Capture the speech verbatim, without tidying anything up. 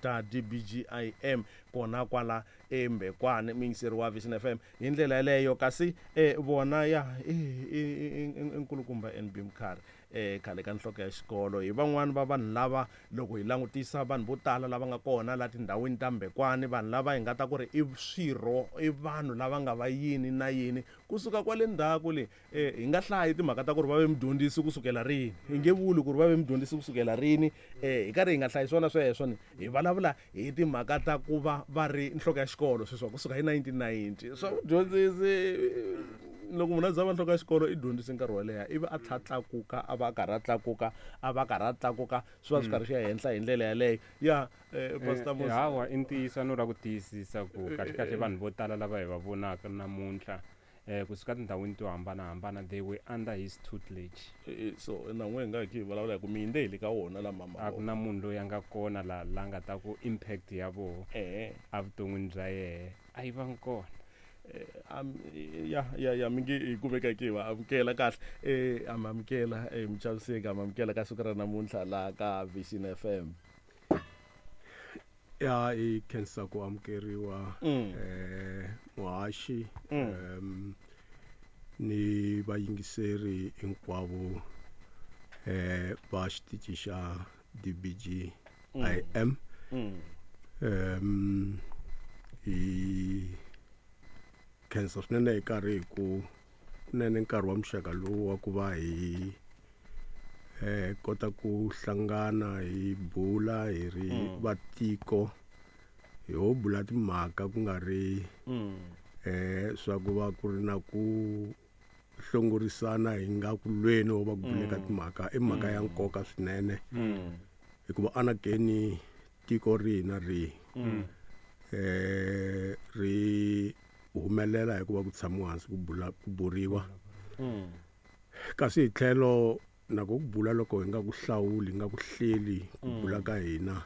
Ta D B G I M kona kwala eMbekwane, muyingiseri wa Vision F M, hi ndlela yaleyo. Kasi eh, vona ya i i- i- i nkulukumba N B Mkhari, eh khale ka nhloko ya xikolo, hi van'wani va vanhu lava loko hi langutisa vanhu vo tala lava nga kona la tindhawini ta Mbekwane, vanhu lava hi nga ta ku ri i swirho, i vanhu lava nga va yini na yini kusuka kwale ndzhaku le. eh, hi nga hlayi timhaka ta ku ri va ve mudyondzisi kusukela rini, hi nge vuli ku ri va ve mudyondzisi kusukela rini. eh, hi karhi hi nga hlayi swona sweswo, ni hi vulavula hi timhaka ta ku va va ri nhloko ya xikolo sweswo kusuka hi nineteen ninety. Swa vudyondzisi, loko munhu a za va nhloko ya xikolo, i dyondzise nkarhi wo leha, ivi a tlha a tlakuka, a va a karhi a tlakuka, a va a karhi a tlakuka, swi va swi karhi swi ya henhla hi ndlela yaleyo ya eh, Pastor Eh, Musa. Hawa, i ntiyiso no ra ku tiyisisa ku kahle kahle vanhu vo tala lava hi va vonaka namuntlha eh kusuka tindhawini to hambanahambana, they were under his tutelage. Eh, so na n'we hi nga hi vulavula hi ku mi yinde hi le ka wona lama. A ku na munhu loyi a nga kona la la nga ta ku impact ya voho eh evuton'wini bya yehe a yi vangi kona. Am- ya ya ya mi nge hi kumeka ki va amukela kahle. eh am amukela eh muchaviseki, am amukela ka siku ra namuntlha la ka Vision F M. Ya, i khensa ku amukeriwa, Mm. eh muhaxi, Mm. em ni vayingiseri hinkwavo eh va xitichi xa D B G I M. Mm. em hi khensa swinene hi karhi hi ku kunene nkarhi wa muxaka lowu wa ku va hi eh kota ku hlangana, hi bula hi ri Mm. vatiko, hi ho bula timhaka ku nga ri Mm. eh swa ku va ku ri na ku hlongorisana, hi nga ku lweni wo va ku buleka timhaka. I mhaka ya nkoka swinene, Mm. hikuva anakeni tiko rihi na rihi Mm. eh ri humelela hikuva ku tshamiwa hansi ku bula, ku buriwa. Mm. Kasi hi tlhelo na ku bula, loko hi nga ku hlawuli, hi nga ku hleli ku bula ka hina.